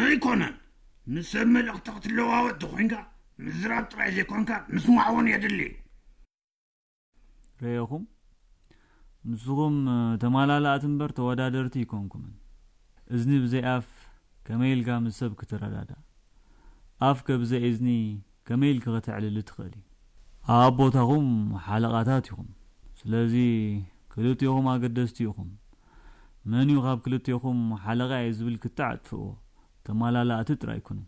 ኣይኮነን። ምስ ሰብ መልእኽቲ ክትለዋወጥ ተኾይንካ ምዝራብ ጥራይ ዘይኮንካ ምስማዕ እውን የድሊ። ርኤኹም፣ ንስኹም ተማላላእቲ እምበር ተወዳደርቲ ኣይኮንኩምን። እዝኒ ብዘይ ኣፍ ከመይ ኢልካ ምስ ሰብ ክትረዳዳእ? ኣፍከ ብዘይ እዝኒ ከመይ ኢልካ ከተዕልሊ ትኽእል እዩ? ኣብ ቦታኹም ሓለቓታት ኢኹም። ስለዚ ክልቲኹም ኣገደስቲ ኢኹም። መን እዩ ካብ ክልቲኹም ሓለቓ እየ ዝብል ክትዕ ኣጥፍእዎ። ተማላላእቲ ጥራይ ኩኑ።